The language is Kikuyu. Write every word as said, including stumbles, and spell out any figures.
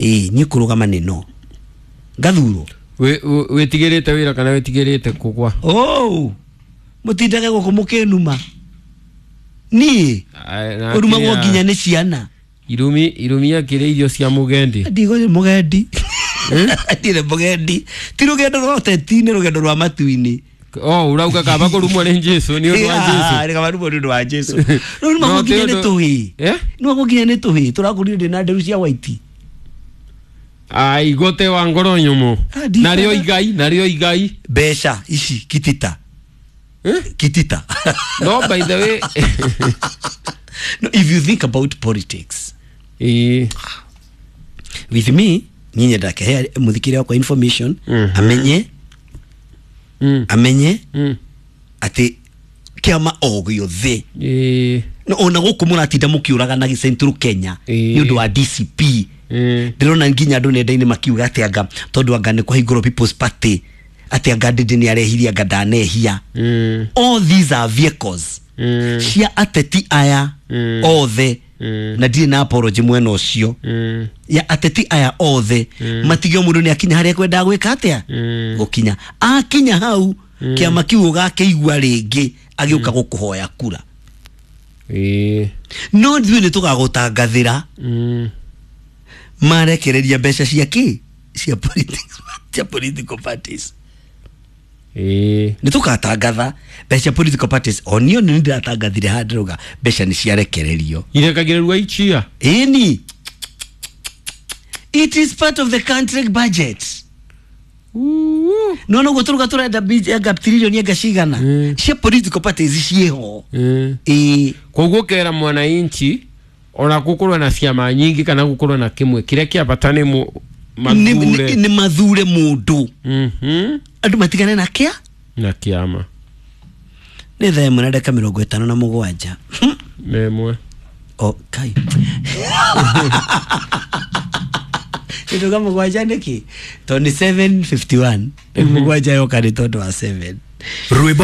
Ĩĩ, niĩ kũrũgama nĩ no ngathurwo. Wĩtigĩrĩte wĩra kana wĩtigĩrĩte kũgwa? Oh, mũtindage gũkũ mũkĩnuma niĩ ũrumagwo nginya nĩ ciana. Irumi irumi akĩrĩ irio cia mũgendi. Ndigo mũgendi, ndirĩ mũgendi, ti rũgendo rwa ũteti, nĩ rũgendo rwa matu-inĩ. Oh, urauga kaba kũrumwo nĩ Jesu nĩ ũndũ wa Jesu. Nĩ kaba rumwo nĩ ũndũ wa Jesu. Rĩu nĩmagwo nginya nĩ tũhĩĩ, nĩmagwo nginya nĩ tũhĩĩ tũrakũrire ndĩ na nderu cia white. Ai gote wa ngoro nyũmũ. Narĩo igai, narĩo igai. Mbeca ici kitita. Eh? Kitita. No, by the way, no, if you think about politics, eh, with me niĩ nyendaga kĩhe mũthikĩria wakwa information, amenye mm. amenye mm. atĩ kĩama o gĩothe eh, no ona gũkũ mũratinda mũkĩũragana Central Kenya nĩ ũndũ wa D C P. Ndĩrona nginya andũ nenda-inĩ makiuga atĩ anga tondũ anga nĩ kũhingũrwo People's Party, atĩ anga Ndindi nĩ arehirie, anga ndanehia. Mm. All these are vehicles mm. cia ateti aya mm. othe, mm. na ndirĩ na apology mwena ũcio mm. ya ateti aya othe mm. matige mũndũ nĩ akinya harĩa kwendaga gwĩka atĩa mm. gũkinya akinya hau mm. kĩama kĩu ũgakĩigua rĩngĩ agĩũka mm. gũkũhoya kura. Ĩĩ no ithuĩ nĩ tũgagũtangathĩra mm. marekereria mbeca cia kĩ cia politics, cia political parties. Ĩĩ nĩ tũkatangatha mbeca cia political parties. O niĩ nĩ ndĩratangathire handũ mbeca nĩ ciarekererio irekagĩrĩrwo ichia. Ĩni, it is part of the country budget. No no gũtũruga tũrenda anga trilioni anga cigana cia political parties ciĩho. Ĩĩ koguo kera mwananchi ona gũkorwo na ciama nyingi kana gũkorwo na kĩmwe kĩrĩa kĩa bata nĩ mathure, nĩ mathure mũndũ. Mhm andũ matigane na kĩa na kĩama. Nĩ thaa ĩmwe na ndagĩka mĩrongo ĩtano na mũgwanja memwe o kai nduga mũgwanja nĩkĩ tondũ nĩ seven fifty one rĩu mũgwanja yoka nĩ tondũ wa seven. Rwĩmbo.